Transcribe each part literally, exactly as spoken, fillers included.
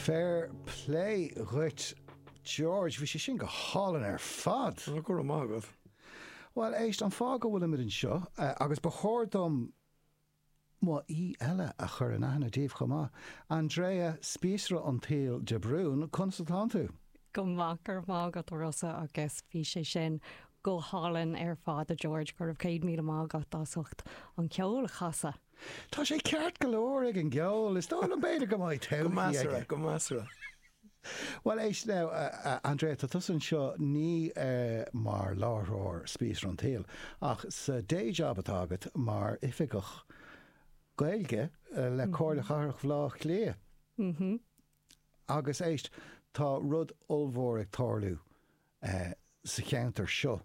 Fair play dhuit George, bhí sé sin go hálainn ar fad. Go raibh maith agat. Well éist an fáth go bhfuilimid anseo agus ba chóir dom mo aoi eile a chur in aithne daoibh chomh maith. Andrea Spíosra an tSaoil de Brún, conas atá tú? Go maith go raibh maith agat Rossa agus bhí sé sin go hálainn ar fad a George go raibh céad míle maith agat as ucht an ceol a chasadh. Tá sé ceart go leor ag an gceol, is dóigh liom b'fhéidir go mbeidh Go measartha, go measartha. Well éist now uh, Andrea tá tusa anseo ní uh, mar láithreoir Spíosra an tSaoil ach sa day job atá agat mar oifigeach Gaeilge uh, le Comhairle Chathrach Bhaile Átha Cliath. Mm -hmm. Agus éist tá rud ollmhór ag tarlú uh, sa cheantar seo.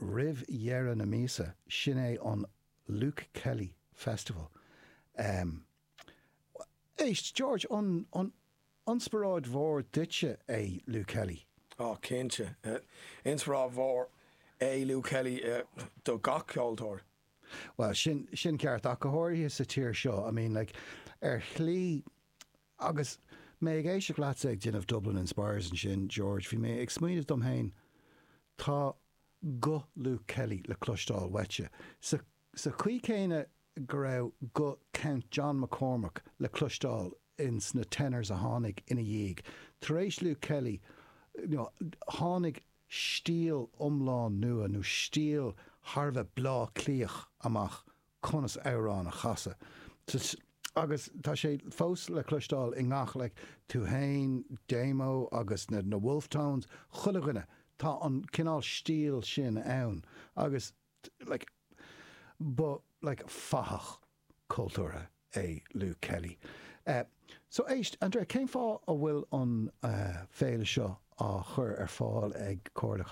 Roimh dheireadh na míosa sin é an Luke Kelly Festival. Um, éist George an, an inspioráid mhór duitse é Luke Kelly. Á cinnte. Inspioráid mhór é Luke Kelly uh, do gach ceoltóir. Well sin sin ceart ach go háirithe sa tír seo, I mean like ar shlí agus mé ag éisteacht leatsa ag déanamh Dublin Inspires ansin George, bhí mé ag smaoineamh dom féin tá guth Luke Kelly le cloisteáil uaitse. Sa, sa chaoi céanna go raibh guth Count John McCormack le cloisteáil in sna tenors a tháinig ina dhiaidh. Tar éis Luke Kelly you know, tháinig stíl iomlán nua nó stíl thar a bheith Bleá Cliathach amach conas amhrán a chasadh. Agus tá sé fós le cloisteáil i ngach le tú féin, Damo agus na, na Wolfe Tones, chuile dhuine tá an cineál stíl sin ann agus like, ba like, fathach cultúrtha é Luke Kelly. Uh, so éist, Andrea, cén fáth a bhfuil an uh, féile seo á chur ar fáil ag Comhairle